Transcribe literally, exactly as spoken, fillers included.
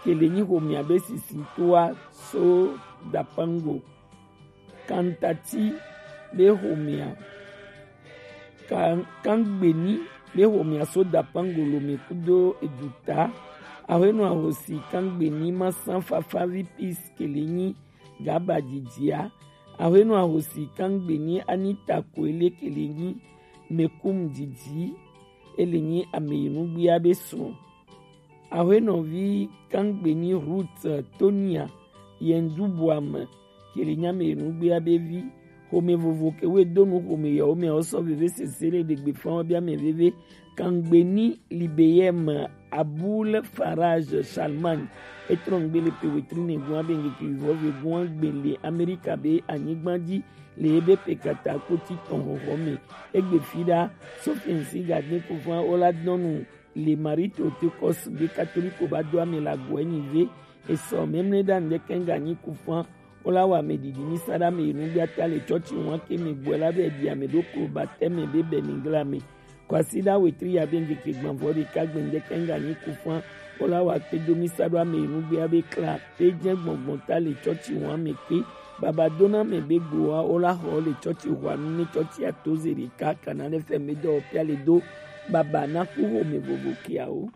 ke le nyi xomea be sisitoa so Dapango. Kantati be xomea, Kan-, Kangbeni be xomea so Dapango Lome kudo Eduta. Ahwenɔ Ahosi Kangbeni Masan Fafavi Peace ke le nyi Gaba Didia. Ahwenɔ Ahosi Kangbeni Anita Koele ke le nyi Mekum Didi, e le nyi Ameyinugbea be srɔ̃. Ahwenɔvi Kangbeni Ruth Tonia Yendubuame ke le nyi Ameyinugbea be vi. Xome vovo ke woe do nu xome yawo mɛ, wo sɔ veve sese le ɖegbe fã wo bia mɛ veve. Kangbeni Libeyem Abul Faraj Salman, e trɔn gbe le pe wetri ne gua be ŋkeke vɔ ve gua gbe le Amerika be anyigba ji le ebe pe kata kpoti tɔn xɔxɔ mɛ. Egbe fi ɖa, Sofiensi Gadin Kufan wo la dɔnu le Marie Théotokos be Katoliko ba do ame la gɔɛ ni ve. Esɔ memle ɖa ŋdɛkɛ ŋga nyi Kufan wo la wa ame ɖiɖi mi sa ɖa ame yi nu bia ta le tsɔtsi ŋua ke mi gbɔɛ la be ɖi ame ɖo klo ba tɛ mɛ be bɛ ni gla mɛ. Kwasiɖa wetri ya be ŋkeke gbɔnvɔ ɖeka gbe ŋdɛkɛ ŋga nyi Kufan wo la wa kpe do mi sa ɖo ame yi nu bia be kla pe jɛ gbɔngbɔn ta le tsɔtsi ŋua mɛ kpe. Baba dona mɛ be gboa wo la xɔ le tsɔtsi ŋua nu ne tsɔtsi ato ze ɖeka kana ɖe fɛ me dɔ pia le do. Baba na ku xome vovo kiawo.